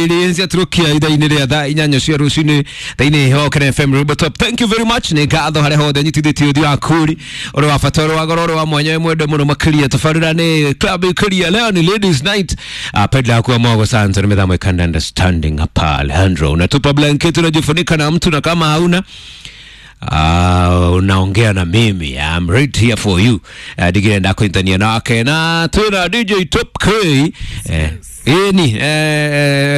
20 ciatũrũkia ithaa-inĩ rĩa thaa 8 cia rũcinĩ thĩinĩ wa Kenya FM Rumba Top. Thank you very much. Nĩ ngatho harĩa hothe nyitithĩtie ũthiũ wa kũri ũrĩ wa bata, ũrĩ wa goro, ũrĩ wa mwanya, wĩ mwende mũno makĩria. Tabarĩra nĩ club ĩkĩria. Leo ni ladies night. Pedla yakuwa mwago santo ni midhamu ikanda understanding hapa Alejandro. Unatupa blanketi unajifunika na mtu, na kama hauna unaongea na mimi. I'm right here for you. Digirenda kuintania nake na tuna DJ Top K. Ĩni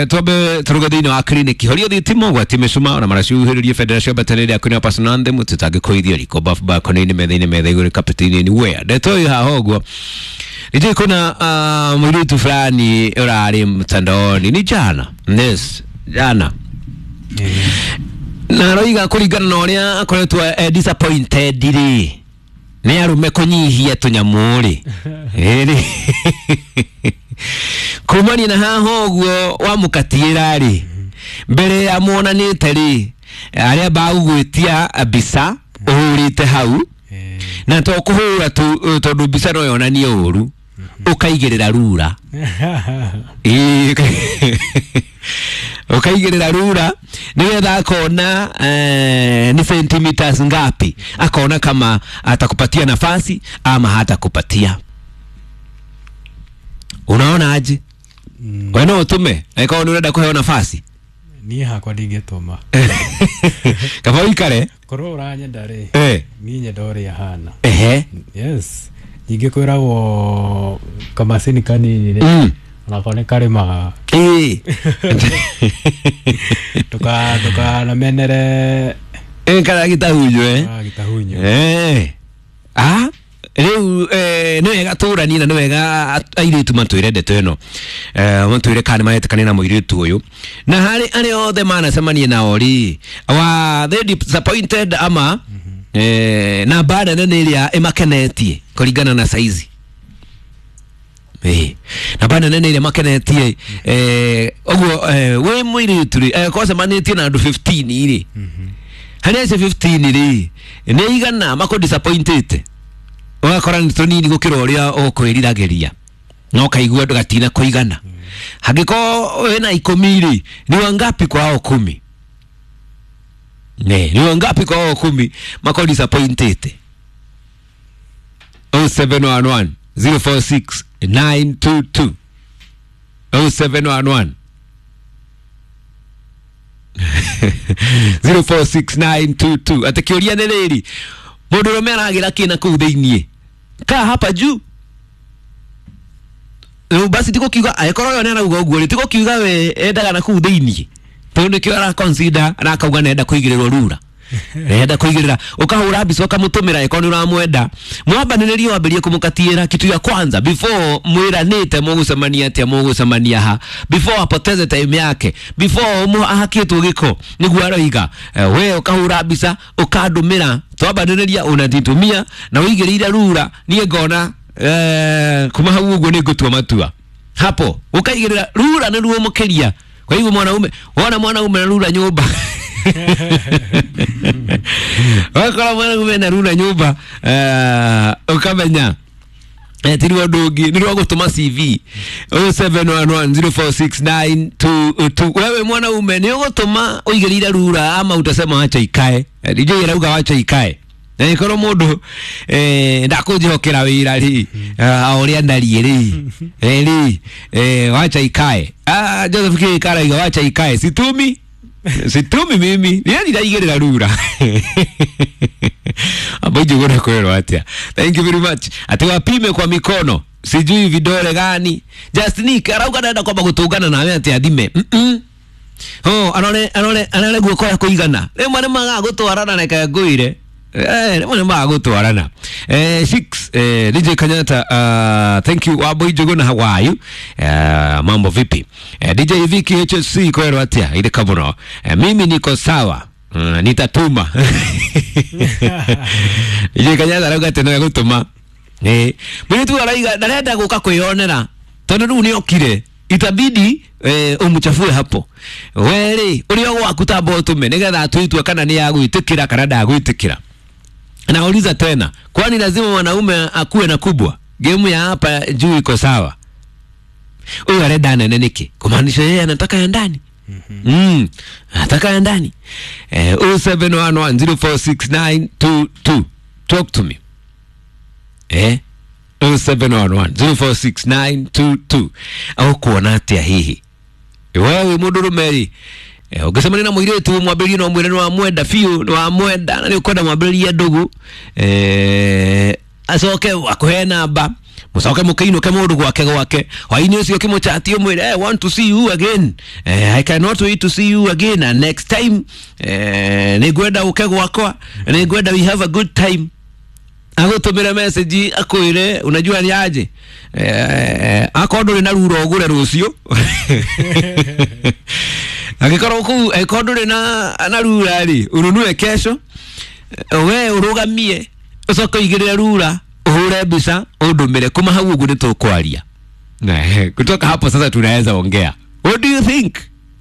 twambe tũruge thĩinĩ wa kliniki horia thitima gwati mĩcuma na maraciuhĩrĩrie bendera cia mbatanĩre yaku nĩ personal anthem tũtangĩkũithia riko bafu balcony-inĩ metha-inĩ metha igũrũ kapeti-inĩ anywhere. Ndeto ĩ haha ũguo nijui kuna mũirĩtu fulani ũrarĩ mtandaoni ni jana, yes jana, na aroiga kũringana na ũrĩa akoretwo disappointed rĩ nĩ arũme kũnyihia tũnyamũ rĩ ĩrĩ kumania na haha ũguo wamũkatiĩra rĩ mbere ya muonanĩte rĩ arĩa bagũgwĩtia mbica ũhũrĩte hau na to kũhũra tu tondũ mbica no yonanie ũru ũkaigĩrĩra rura. Ũkaigĩrĩra rura nĩgetha akona ni centimeters ngapi, akona kama atakupatia nafasi ama hatakupatia. Unaona aje? We no ũtũme angĩkorwo nĩ ũrenda kũheo nafasi. Niĩ hakwa ndingĩtũma. Kaba ũikare korwo ũranyenda rĩ, niĩ nyenda ũrĩa hana. Ehe. Yes, ningĩ kwĩragwo kamacini kanini rĩ, onako nĩ karĩmaga. Ndũkanamenere karagĩtahunyo. Karagĩtahunyo. Rĩu nĩ wega tũranie na nĩ wega airĩtu matwĩre ndeto ĩno, matwĩre kana nĩmaretĩkania na mũirĩtu ũyũ na harĩ arĩa othe manacemania nao rĩ, wa they disappointed ama namba nene nĩ ĩrĩa ĩmakenetie kũringana na saizi. Namba nene nĩ ĩrĩa makenetie ũguo wĩ mũirĩtu rĩ, kwacemanĩtie na andũ 15 rĩ, harĩ acio 15 rĩ nĩ igana makũ disappointed ũgakora nĩ tũnini gũkĩra ũrĩa ũkwĩriragĩria na ũkaigua gatina kũigana. Hangĩkorwo wĩna 10 rĩ, ni wangapi kwa hao 10? Ne, ni wangapi kwa hao 10 mako disappointed? 0711 046 922 0711 046922. Ati kĩũria nĩ rĩrĩ, mũndũ ũrũme aragĩra kĩ na kũu thĩiniĩ kaa hapa juu? Rĩu basi tigukiuga angĩkorwo ũyũ nĩarauga ũguo rĩ, tigukiuga we endaga na kũu thĩiniĩ tondũ nĩkĩo araconsider na akauga nĩenda kũigĩrĩrwo rura, nĩenda kũigĩrĩra. Ũkahũra mbica ũkamũtũmĩra angĩkorwo nĩ ũramwenda, mwambanĩrĩrie wambĩrĩrie kũmũkatiĩra kitu ya kwanza before mwĩranĩte mũgũcemania atĩa, mũgũcemania ha, before apoteze time yake, before ahakĩtwo gĩko nĩguo aroiga. We ũkahũra mbica ũkandũmĩra, twambanĩrĩria unanitumia na ũigĩrĩire rura, niĩ ngona kuma hau ũguo nĩ ngũtua matua hapo. Ũkaigĩrĩra rura nĩ ruo mũkĩria. Kwa hivyo mwanaume, wona mwanaume na rura nyũmba wakora mwanaume na rura nyũmba ũkamenya ti rwa ũndũ ũngĩ nĩ rwa gũtũma CV. 0711046922. Wewe mwanaume nĩ ũgũtũma ũigĩrĩire rura ama utasema wacha ikae? DJ arauga wacha ikae. Na ĩkorwo mũndũ ndakũnjĩhokera wĩra rĩ, o ũrĩa ndariĩ rĩ, rĩ wacha ikae. Joseph K karaiga wacha ikae, situmi situmi mimi niĩ ndiraigĩrĩra rura. Abo njuguna kwĩrwo atĩa. Thank you very much. Ati wapime kwa mikono sijui vidole gani. Just Nick arauga ndenda kwamba gũtũngana nawe atĩ athime. Oh, arore arore arore guoko ya kũigana. Rĩmwe nĩ magaga gũtwarana, reke ngũire. Rĩmwe nĩ magaga gũtwarana. 6 DJ Kanyata, thank you Wambui Njuguna, how are you? Mambo vipi? DJ Vicky HSC kwĩrwo atĩa irĩka mũno. Mimi niko sawa. Nitatuma. DJ Kanyata arauga atĩ no egũtũma. Mũirĩtu arauga ndarenda gũka kwĩyonera tondũ rĩu nĩokire, itabidi umuchafue hapo. Weri ũrĩa gwaku tamba ũtũme nĩgetha atue itua kana nĩ agwĩtĩkĩra kana ndagwĩtĩkĩra. Nauliza tena, kwani lazima mwanaume akuwe na kubwa? Game ya hapa juu iko sawa. Huyu arenda nene niki? Kumaanisha yeye anataka ya ndani. Anataka ya ndani. 0711046922. Talk to me. 0711046922. Au kuona atia hihi wewe mundurume ri, ũngĩcemania na mũirĩtu mwambĩrĩrie no mwĩre nĩ wamwenda biũ, nĩ wamwenda na nĩ ũkwenda mwambĩrĩrie ndũgũ, acoke akũhe namba, mũcoke mũkĩinũke mũndũ gwake gwake hwainĩ ũcio ũkĩmũchati ũmwĩre, "I want to see you again, I cannot wait to see you again, and next time nĩ ngwenda ũke gwakwa, nĩ ngwenda we have a good time." Agũtũmĩre message akwĩre, unajua ni aje, akorwo ndũrĩ na rura ũgũre rũciũ, angĩkorwo kũu angĩkorwo ndũrĩ na rura rĩ, ununue kesho, we ũrũgamie ũcoke ũigĩrĩre rura, ũhũre mbica ũndũmĩre. Kuma hau ũguo nĩ tũkwaria. Kutoka hapo sasa tunaweza ongea. What do you think?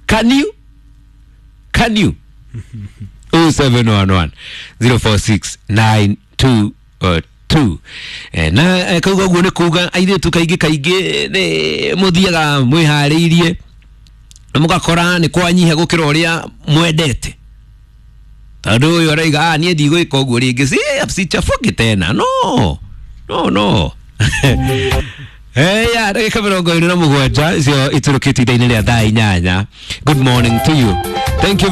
Can you can you 0711 046 922. Na kauga ũguo nĩ kuga airĩtu kaingĩ kaingĩ nĩ mũthiaga mwĩharĩirie na mũgakora nĩ kwanyiha gũkĩra ũrĩa mwendete, tondũ ũyũ araiga, "Ah, niĩ ndigwĩka ũguo rĩngĩ, si sichafuki tena." No, no, no. Ya ndagĩka 27 icio itũrũkĩte ithaa-inĩ rĩa thaa 8. Good morning to you. Thank you.